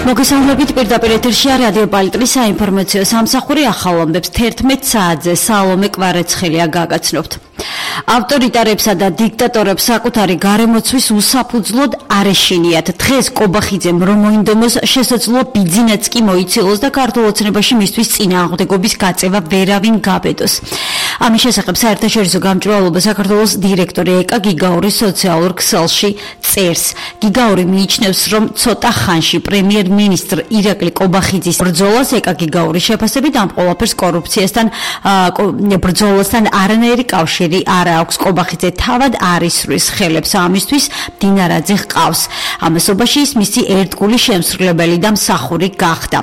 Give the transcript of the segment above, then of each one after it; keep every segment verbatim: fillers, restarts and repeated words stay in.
მოგესალმებით პირდაპირ ეთერში რადიო პალიტრის საინფორმაციო სამსახური ახალ ამბებს თერთმეტ საათზე სალომე კვარაცხელია გაგაცნობთ. ავტორიტარებსა და დიქტატორებს საკუთარი გარემოცვის უსაფუძვლოდ არ ეშინიათ. დღეს კობახიძემ რომ მოინდომოს შესაძლოა ბიძინაც კი მოიცილოს და ქართულ ოცნებაში მისთვის წინააღმდეგობის გაწევა ვერავინ გაბედოს. ამის შესახებ საერთაშორისო გამჭვირვალობა საქართველოს დირექტორი ეკა გიგაური სოციალურ ქსელში წერს. გიგაური მიიჩნევს, რომ ცოტა ხანში პრემიერ-მინისტრ ირაკლი კობახიძის ბრძოლას ეკა გიგაურის შეფასებით ამ ყველაფერს კორუფციასთან ბრძოლასთან არანაირი კავშირი არ აქვს. კობახიძე თავად არ ისვრის ხელებს ამისთვის დინარაძე ჰყავს. ამასობაში ის მისი ერთგული შემსრულებელი და მსახური გახდა.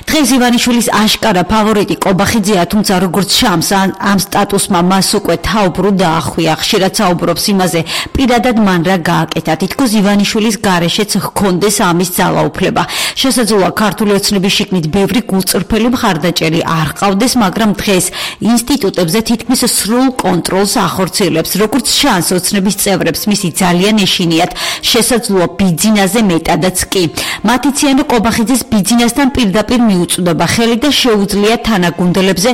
დღეს ივანიშვილის აშკარა ფავორიტი კობახიძეა, თუმცა როგორც შამს ამ სტატუსმა მას უკვე თაუბრუ დაახვია. ხშირად საუბრობს იმაზე, პირადად მან რა გააკეთა, თითქოს ივანიშვილის გარეშეც ჰქონდეს ამის ძალაუფლება. შესაძლოა ქართული ოცნების შიგნით ბევრი გულწრფელი მხარდაჭერი არ ჰყავდეს, მაგრამ დღეს ინსტიტუტებზე თითქმის სრულ კონტროლს ახორციელებს. როგორც შანს ოცნების წევრებს მისი ძალიან ეშინიათ, შესაძლოა ბიძინაზე მეტადაც კი. მათ იციან კობახიძის ბიძინასთან პირდაპირ მიუწვდება ხელი და შეუძლია თანაგუნდელებზე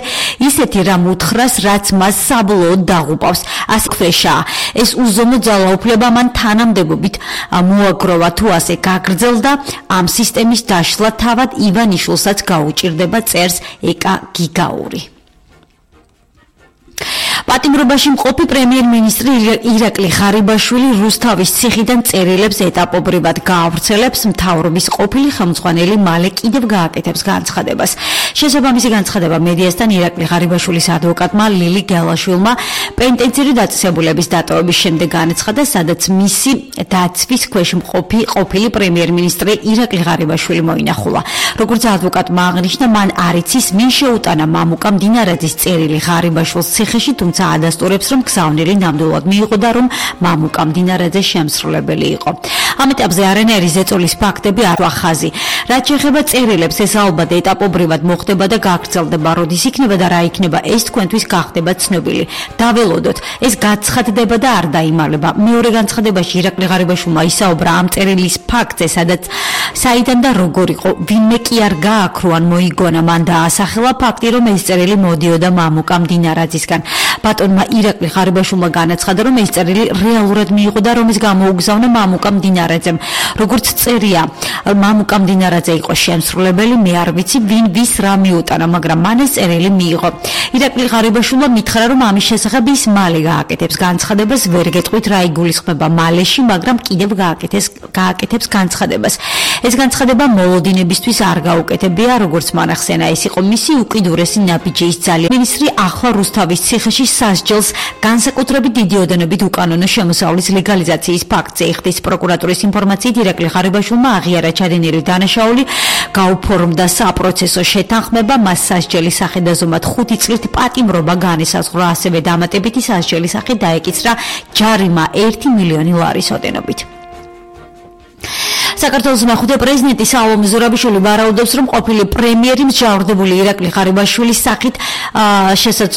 ისეთი რამ უთხრას, რაც მას საბოლოოდ დაღუპავს. ასე ქვეშაა. ეს უზომო ძალაუფლება მან თანამდებობით მოაგროვა, თუ ასე გაგრძელდა, ამ სისტემის დაშლა თავად ივანიშვილსაც გაუჭირდება, წერს ეკა გიგაური. პატიმრობაში მყოფი პრემიერ-მინისტრი ირაკლი ღარიბაშვილი რუსთავის ციხიდან წერილებს ეტაპობრივად გაავრცელებს, მთავრობის ყოფილი ხელმძღვანელი მალე კიდევ გააკეთებს განცხადებას. შესაბამისი განცხადება მედიასთან ირაკლი ღარიბაშვილის ადვოკატმა ლილი გელაშვილმა პენტენციური დაწესებულების დატოვების შემდეგ განაცხადა, სადაც მისი დაცვის ქვეშ მყოფი ყოფილი პრემიერ-მინისტრი ირაკლი ღარიბაშვილი მოინახულა. როგორც ადვოკატმა აღნიშნა, მან არ იცის, მინ შეუტანა მამუკა დინარაძის წერილი ღარიბაშვილს ციხეში, თუმცა ადასტურებს, რომ გზავნილი ნამდვილად მიიღო და რომ მამუკა დინარაძე შემსრულებელი იყო. ამ ეტაპზე არანაირი ზეწოლის ფაქტები არ ვახაზი. რაც შეეხება წერილებს, ეს ალბათ ეტაპობრივად მოხდება და გაგრძელდება, როდის იქნება და რა იქნება, ეს თქვენთვის გახდება ცნობილი. დაველოდოთ, ეს გაცხადდება და არ დაიმალება. მეორე განცხადებაში ირაკლი ღარიბაშვილმა ისაუბრა ამ წერილის ფაქტზე, სადაც საიდან და როგორ იყო, ვინმე კი არ გააქრო ან მოიგონა, მან დაასახელა ფაქტი, რომ ეს წერილი მოდიოდა მამუკა დინარაძისგან. ბატონმა ირაკლი ღარიბაშვილმა განაცხადა, რომ ეს წერილი რეალურად მიიღო და რომ ის გამოუგზავნა მამუკა დინარაძემ. როგორც წერია, მამუკა დინარაძე იყო შემსრულებელი, მე არ ვიცი ვინ ვის რა მიუტანა, მაგრამ მან ეს წერილი მიიღო. ირაკლი ღარიბაშვილმა მითხრა, რომ ამის შესახებ ის მალე გააკეთებს განცხადებას, ვერ გეტყვით რა იგულისხმება მალეში, მაგრამ კიდევ გააკეთებს გააკეთებს განცხადებას. ეს განცხადება მოლოდინებისთვის არ გაუკეთებია, როგორც მანახსენა, ეს იყო მისი უკიდურესი ნაბიჯის ძალა. მინისტრი ახლა რუსთავის ციხეში სასჯელს განსაკუთრებით დიდი ოდენობით უკანონო შემოსავლის ლეგალიზაციის ფაქტზე იხდის. პროკურატურის ინფორმაციით ირაკლი ღარიბაშვილმა აღიარა ჩადენილი დანაშაული, გაუფორმდა საპროცესო შეთანხმება, მას სასჯელის სახე დაზომად ხუთი წლით პატიმრობა განესაზღვრა, ასევე დამატებითი სასჯელის სახე დაეკისრა ჯარიმა ერთი მილიონი ლარის ოდენობით. საქართველოს მეხუთე პრეზიდენტი სალომე ზურაბიშვილი ვარაუდობს, რომ ყოფილი პრემიერი მსჯავრდებული ირაკლი ღარიბაშვილის სახით შესაძლოა